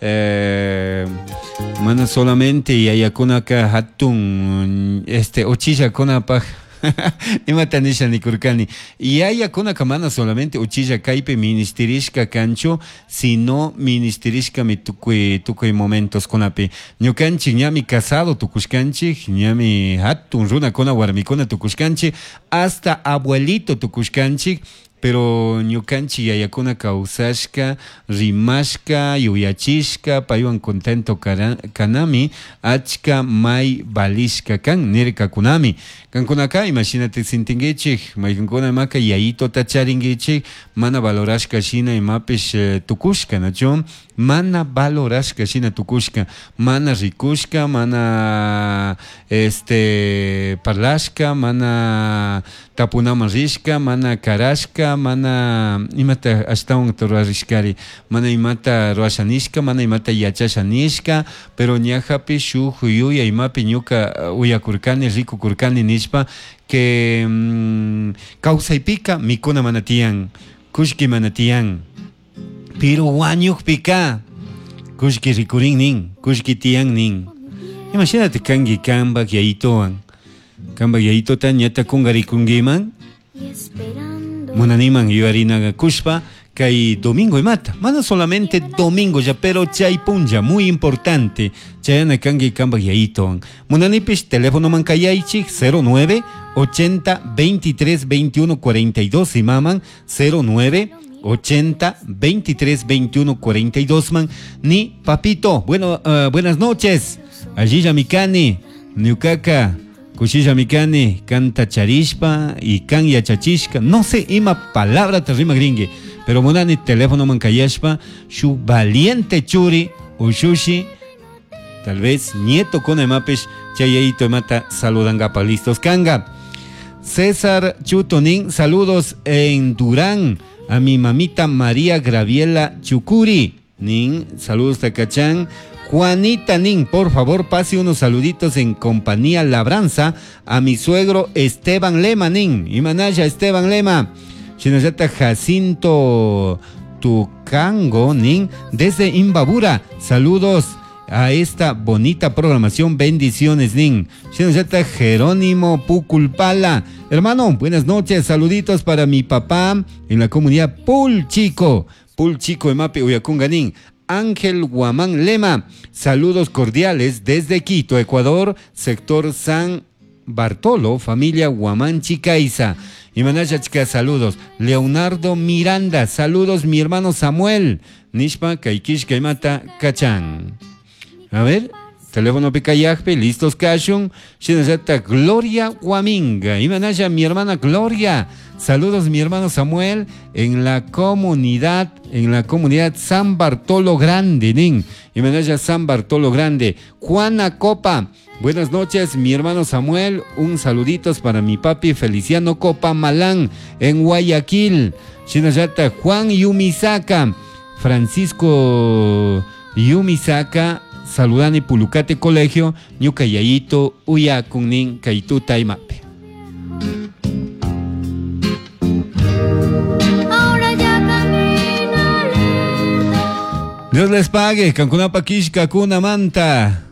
Eh, mana solamente yayakunaka hatun este uchillakunapaj imata nisha nikurkani yayakunaka mana solamente uchilla kaypi ministirishka kanchu sino ministirishkami tukuy tukuy momentoskunapi ñukanchik ñami casado tukushkanchik ñami hatun runakuna warmikuna tukushkanchik hasta abuelito tukushkanchik pero ñukanchik yayakuna kawsashka rimashka yuyachishka paywan contento kanami achka may valishka kan nirkakunami kankunaka imashinata sintinkichik maykankuna imaka yayitota charinkichik mana valorashka shina imapish tukushka nachu mana valorashka shina tukushka mana rikushka mana este parlashka mana tapunaman rishka mana karashka mana imata ashtawan rurarishkari mana imata rurasha nishka mana imata yachasha nishka pero ñajapi shuk yuya imapi ñuka uyakurkani rikukurkani nishpa que kawsaypika mikuna mana tiyan kullki mana tiyan pero wañukpika kullki rikurin nin kullki tiyan nin imashinata kanki kanpak yayituwan kanpak yayituta ñata kunkarikunkiman munaniman yuyarinaga kushpa kay domingo imata mana solamente domingo ya pero chay punlla muy importante chayana kanki kanpak yayituwan munanipish telefonoman kayaychik 09 80 23 21 42 imaman 09 80 23 21 42 man ni papito bueno buenas noches allilla mikani ñukaka kushilla mikani kanta charishpa y kan yachachishka no sé ima palabra te rimagringue pero munani teléfono man kayashpa shu valiente churi ushushi tal vez nieto con imapish chayayito imata saludangapa listos kanga César Chutonin saludos en Durán a mi mamita María Graviela Chucuri nin saludos Tacachán Juanita Nin, por favor, pase unos saluditos en compañía Labranza a mi suegro Esteban Lema Nin. Y manaya Esteban Lema. Shinallata Jacinto Tucango Nin desde Imbabura. Saludos a esta bonita programación. Bendiciones, Nin. Shinallata Jerónimo Puculpala. Hermano, buenas noches. Saluditos para mi papá en la comunidad Pulchico. Pulchico Emape Uyacunga Nin. Ángel Guamán Lema, saludos cordiales desde Quito, Ecuador, sector San Bartolo, familia Guamán Chicaiza. Y Manaya Chica, saludos. Leonardo Miranda, saludos mi hermano Samuel. Nishpa, Kaikish, Kaimata, Kachan. A ver, teléfono Picayajpe, listos Kashun. Shinayata Gloria Guaminga. Y Manaya, mi hermana Gloria. Saludos mi hermano Samuel en la comunidad San Bartolo Grande, nin. Y Manaya San Bartolo Grande. Juana Copa. Buenas noches, mi hermano Samuel. Un saluditos para mi papi Feliciano Copa Malán en Guayaquil. Shinayata Juan Yumisaka. Francisco Yumisaka. Saludani Pulucate Colegio, Ñuka Yayito, Uyakun Kaituta Imape. Ahora ya camina lento. Dios les pague, Cancunapa Kishka, Kuna Manta.